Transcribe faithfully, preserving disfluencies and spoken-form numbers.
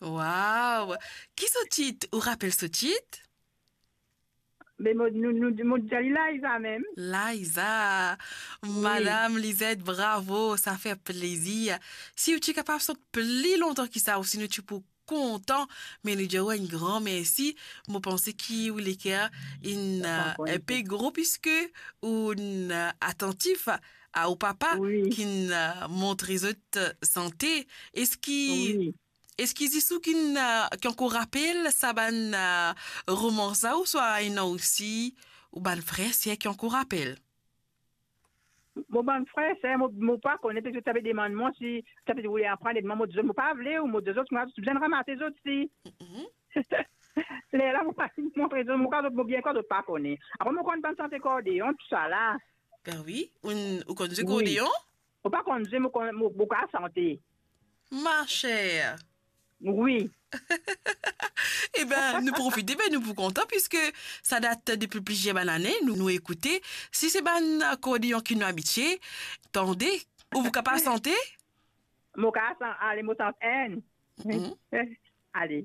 Waw! Ki so tit? Ou rapel so tit? Me mo, nou, nou, mo dir li Laiza mem. Laiza. Wi. Madam Lizette, bravo, sa fer plezir. Si ou ti kapav sant pli lontan ki sa, ou si nou ti pou kontan, me nou dir ou enn gran mersi. Mo panse ki ou leker inn, Sa euh, ankor enn enpe gro, piske ou inn, euh, atantif a ou papa Wi. ki'nn, euh, montre zot, euh, sante. Eski, Wi. eski zis ou ki'nn, euh, ki ankor rapel sa bann, euh, romans la, ouswa ena osi ou bann frer, ser ki ankor rapel? Mo bann frer, ser, mo, mo pa kone, parski zot ti pe demann mwa si ti pe voule aprann, e mwa mo dir zot, mo pa vle, ou mo dir zot, mwa, zot bizin ramase zot si. Mhm. Lerla, mo pa finn montre zot, mo krwar zot, mo bien krwar zot pa kone. Apre, mo konn bann sante kordeon, tousala. Ben wi, ou, ou konn zwe Wi. kordeon? Mo pa konn zwe, mo konn, mo, mo kapav sante. Ma chère. Wi. Eben, nou profite, ben nou pou kontan, piske sa dat depi plizier bann ane, nou, nou ekoute. Si se bann kordeon ki nou abitie tande, ou pou kapav sante? Mo kapav san-, ale, mo sant enn. Mhm. Ale.